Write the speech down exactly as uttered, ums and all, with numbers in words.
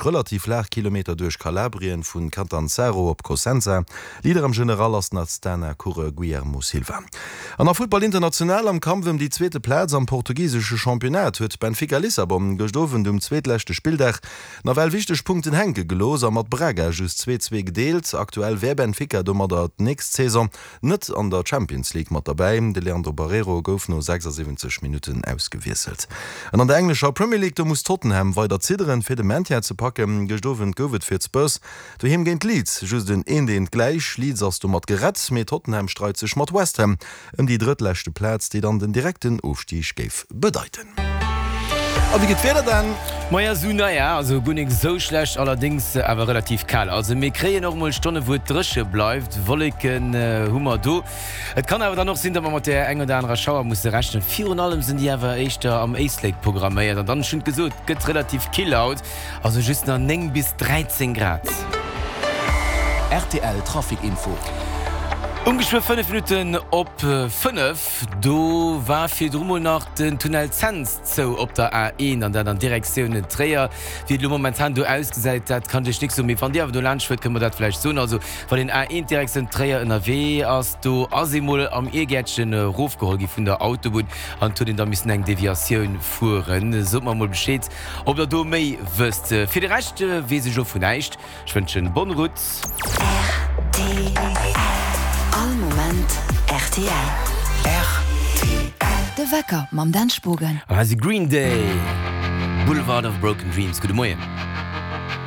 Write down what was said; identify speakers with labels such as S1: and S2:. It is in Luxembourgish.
S1: relativ flaach Kilometer duerch Kalabrien vu Catanzaro op Cosenza. Leader am General ass den Astana-Coureur Guillermo Silva. An a Futtball international am Kampf ëm déi zweete Plaz am portugisesche Championnat huet Benfica Lissabon gëscht Owend um zweetleschte Spilldag nawell wichteg Punkten hänke gelooss a mat Braga just zwee zwee gedeelt. Aktuell wär Benfica domadder d'nächst Saison net an der Champions League mat derbäi. De Leandro Barreiro gouf no sechsasiwwenzeg Minutten ausgewiesselt. An an der englescher Premier League, do muss Tottenham weider zidderen, fir de Maintien ze packen. Gëscht Owend gouf et fir d'Spurs doheem géint Leeds just en eent eent gläich. Leeds ass domat gerett, mee Tottenham streit sech mat West Ham ëm déi drëttleschte Plaz, déi dann den direkten Ofstig géif bedeiten. A wéi geet d'Wieder dann?
S2: Maja sou, naja, also guer nik sou schlecht, allerdéngs awer relativ kal. Also mir kréien och mol Stonne wou et dréche bleift, Wolleken hu mer do. Et kann awer dann och sinn, datt mer mat där eng oder anerer Schauer musse rechnen. Virun allem sinn déi awer éischter am Éislek programméiert. An dann, ech hunn et gesot, gëtt relativ kill haut, also just nach néng bis dräizéng Grad.
S3: Rtl Trafic Info.
S2: Um geschwë fënnef Minutten op fënnef, do war virdru mol nach den Tunnel Cents zou op der A een an dat an Direktioun Tréier. Wéi et elo momentan do ausgesäit, dat kann ech iech nik soen, mee wann Dir awer do laanscht fuert, kënnt mer dat vläicht soen. Also wann een A een Direktioun Tréier ënnerwee ass, do ass ee mol am Iergäertchen erofgeholl gi vun der Autobunn an et huet een da missen eng Deviatioun fueren. Sot mer mol Bescheed, ob der do méi wësst. Fir de Rescht weess ech elo vun näischt. Ech wënschen bonne route.
S4: Rtl, All Moment rtl.
S3: Rtl.
S4: De Wecker mam Dan Spogen.
S2: An hei si Green Day, Boulevard of Broken Dreams. Gudde Moien.